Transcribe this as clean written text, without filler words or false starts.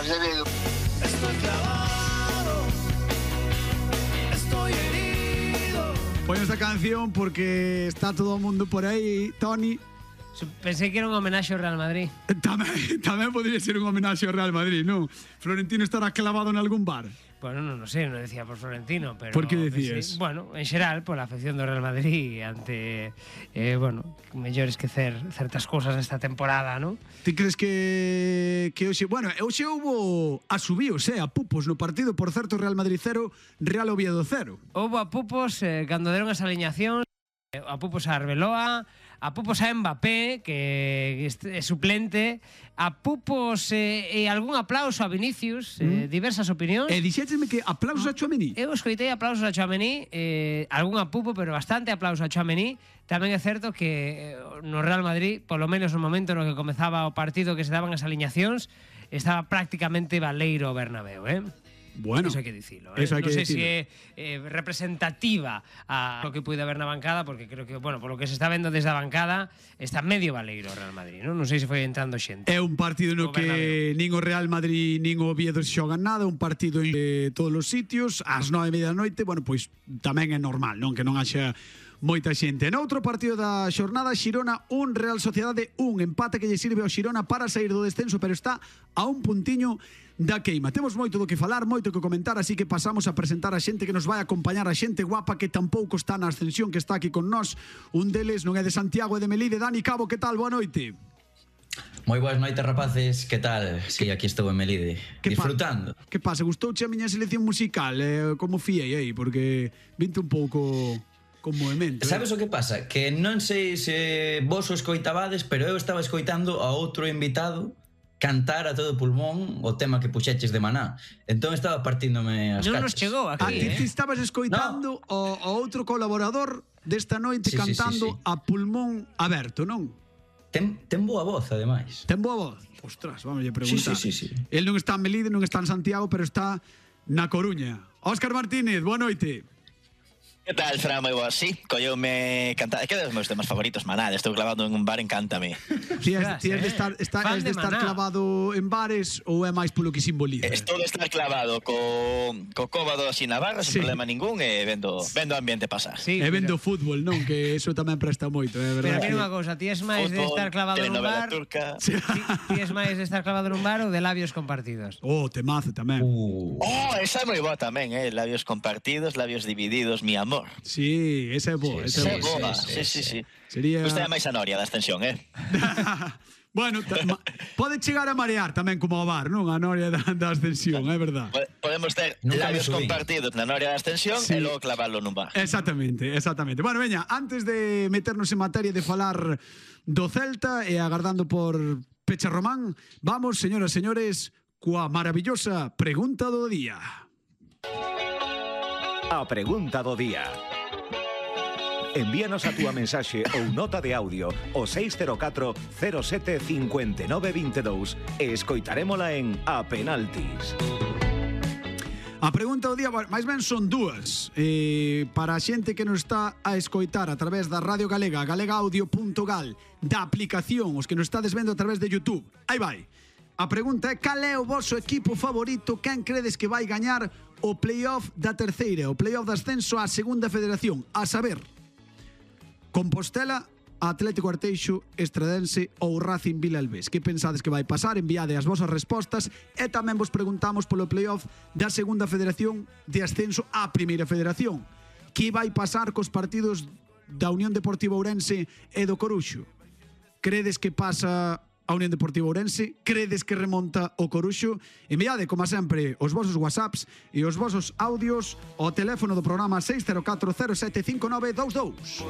nos de Vigo. Estoy clavado, estoy herido. Poño esta canción porque está todo o mundo por aí, Toni. Pensei que era un homenaxe ao Real Madrid. Tamén podría ser un homenaxe ao Real Madrid, non? Florentino estará clavado en algún bar. Bueno, non sei, non decía por Florentino, pero... Por que decías? Bueno, en xeral, pola afección do Real Madrid ante, mellor esquecer certas cousas esta temporada, non? Ti crees que hoxe... Bueno, hoxe houbo asubíos, a pupos no partido, por certo, Real Madrid 0, Real Oviedo 0. Houbo a pupos cando deron as aliñacións, a pupos a Arbeloa, a pupos a Mbappé, que é suplente, a pupos e algún aplauso a Vinicius, diversas opinións. E dixéchesme que aplausos a Tchouaméni. Eu escoitei aplausos a Tchouaméni, algún a pupo, pero bastante aplauso a Tchouaméni. Tamén é certo que no Real Madrid, polo menos no momento no que comezaba o partido, que se daban as aliñacións, estaba prácticamente baleiro o Bernabéu, Bueno, eso hai que dicilo, eso hai non que sei dicilo. se é representativa a lo que puide haber na bancada, porque creo que, bueno, por lo que se está vendo desde a bancada, está medio baleiro o Real Madrid, non sei se foi entrando xente. É un partido no que nin o Real Madrid nin o Oviedo xogan nada, un partido en todos os sitios, ás 9:30 da noite, bueno, pois tamén é normal, non? Que non haxa moita xente. Noutro partido da xornada, Xirona 1, Real Sociedade 1, empate que lle sirve ao Xirona para sair do descenso, pero está a un puntiño da queima. Temos moito do que falar, moito que comentar, así que pasamos a presentar a xente que nos vai a acompañar, a xente guapa que tampouco está na ascensión, que está aquí con nós. Un deles non é de Santiago, é de Melide. Dani Cabo, que tal? Boa noite. Moi boas noites, rapaces, que tal? Si, aquí estou en Melide, disfrutando. Que pasa? Gustouche a miña selección musical? Como fiei aí? Porque vinte un pouco con movimento. Sabes o que pasa? Que non sei se vos o escoitabades, pero eu estaba escoitando a outro invitado cantar a todo pulmón o tema que puxeches de Maná. Entón estaba partíndome as Non nos cachas. chegou aquí, Ti estabas escoitando o outro colaborador desta noite cantando a pulmón aberto, non? Ten boa voz, ademais. Ten boa voz? Ostras, vamos a preguntar. Sí. El non está en Melide, non está en Santiago, pero está na Coruña. Óscar Martínez, boa noite. Que tal, Fran? Moi boa, sí, colleume cantar. É que é dos meus temas favoritos, Maná. Estou clavado en un bar, encántame. Ti és de estar clavado en bares ou é máis polo que simboliza? Estou de estar clavado co cóbado así na barra, sen problema ningún, e vendo o ambiente pasar. Sí, e vendo fútbol, non? Que eso tamén presta moito, é verdade. Pero mira unha cousa, ti és máis de estar clavado nun bar. Ti és máis de estar clavado nun bar ou de labios compartidos? Temazo tamén. Esa é moi boa tamén, labios compartidos, labios divididos, mi amor. Sí, esa é boa. Esa é boa, sí. Sería... Gusta máis a Noria da extensión, Bueno, pode chegar a marear tamén como o bar, non? A Noria da ascensión, é verdade. Podemos ter labios compartidos na Noria da ascensión e logo clavarlo nun bar. Exactamente. Bueno, veña, antes de meternos en materia de falar do Celta e agardando por Pecha Román, vamos, señoras e señores, coa maravillosa pregunta do día. A pregunta do día. Envíanos a túa mensaxe ou nota de audio ao 604 07 59 22 e escoitarémola en A Penaltis. A pregunta do día, máis ben son dúas. Para a xente que nos está a escoitar a través da Radio Galega, galegaaudio.gal, da aplicación, os que nos estades vendo a través de YouTube. Aí vai. A pregunta é: cal é o vosso equipo favorito? Quen credes que vai gañar o playoff da terceira, o playoff de ascenso á segunda federación? A saber, Compostela, Atlético Arteixo, Estradense ou Racing Vilalbés. Que pensades que vai pasar? Enviade as vosas respostas e tamén vos preguntamos polo playoff da segunda federación de ascenso á primeira federación. Que vai pasar cos partidos da Unión Deportiva Ourense e do Coruxo? Credes que pasa a Unión Deportiva Ourense? Credes que remonta o Coruxo? Enviade, como sempre, os vosos whatsapps e os vosos audios ao teléfono do programa 604 07 59 22.